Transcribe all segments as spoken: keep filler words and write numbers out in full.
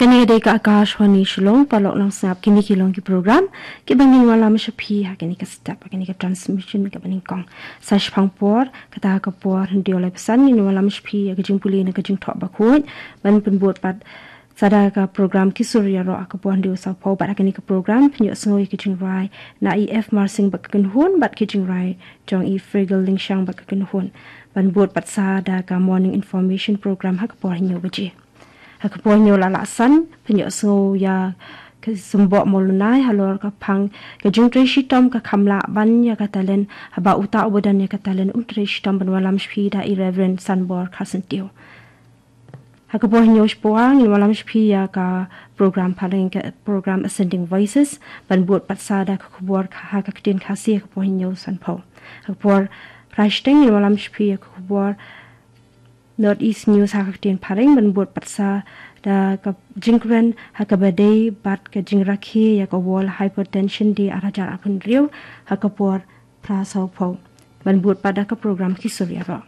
Kane ka dei ka Akashvani Shillong, paralok nongsngap, kine ki long ki program kiba ngin wallam sha phi ha kane ka step, ha kane ka transmission kaba nyngkong. Sa shipang por, kata ka por hynriew laiphew san, ngin wallam sha phi ïa ka jingpule na ka Jingthoh Bakhuid, ban pynbud pat sa da ka program Ki Sur Ïaroh ha ka por hynriew sawphew, bad ha kane ka program phin ïohsngew ïa ka jingrwai na i F Marsing bad ka kynhun, bad ki jingrwai jong i Frigel Lyngshang bad ka kynhun, ban bud pat sa da ka morning information program ha ka por hynñiew baje. Ha ka por hynñiew laiphew san, phin ïohsngew ïa ka Symboh Mawlynnai halor ka phang ka jingtrei shitom ka kham lah ban ïa ka talent, haba uta uba don ïa ka talent un trei shitom, ban wallam sha phi da i Reverend Sanbor Kharsyntiew. Ha ka por hynñiew shiphew, ngin wallam sha phi ïa ka program phareng, ka program Ascending Voices, ban bud pat sa da ka khubor ka, ha ka ktien Khasi ha ka por hynñiew sanphew. Ha ka por phra shiteng, ngin wallam sha phi ïa ka khubor North East News ha ka ktien phareng, ban bud pat sa da ka jingkren ha kaba ïadei bad ka jingrakhe ïa ka World Hypertension Day arhajar arphew hynriew ha ka por phra sawphew, ban bud pat da ka program Ki Sur Ïaroh.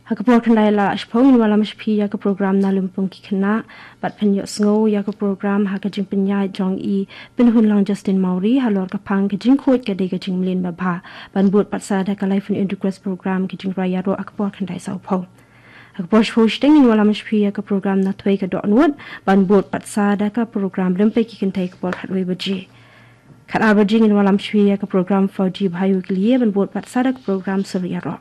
Ha ka por khyndai laiphew shiphew, ngin wallam sha phi ïa ka program Na Lympung Ki Khynnah, bad phin ïohsngew ïa ka program ha ka jingpynïaid jong i Pynhunlang Justin Mawrie halor ka phang Ka Jingkhuid Ka Dei Ka Jingmlien Babha, ban bud pat sa da ka Life in Request program Ka Jingrwai Ïaroh ha ka por khyndai sawphew. Ha ka por shiphew shiteng, ngin wallam sha phi ïa ka program Na Thwei Ka Dohnud, ban bud pat sa da ka program Rympei Ki Kynthei ha ka por khatwei baje. Khatar baje, ngin wallam sha phi ïa ka program Fauji Bhai Wikliye, ban bud pat sa da ka program Sur Ïaroh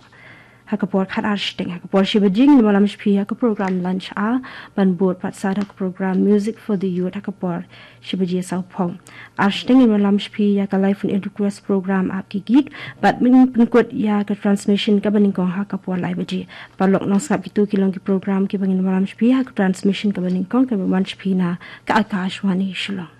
ha ka por khatar shiteng. Ha ka por shi baje, ngin wallam sha phi ïa ka program Lunch Hour, ban bud pat sa da ka program Music for the Youth ha ka por shi baje sawphew. Ar shiteng, ngin wallam sha phi ïa ka Life in Request program Aap Ki Geet, bad ngin pynkut ïa ka transmission kaba nyngkong ha ka por lai baje. Paralok nongsngap, kito ki long ki program kiba ngin wallam sha phi ha ka transmission kaba nyngkong, kaba wan sha phi na ka Akashvani Shillong.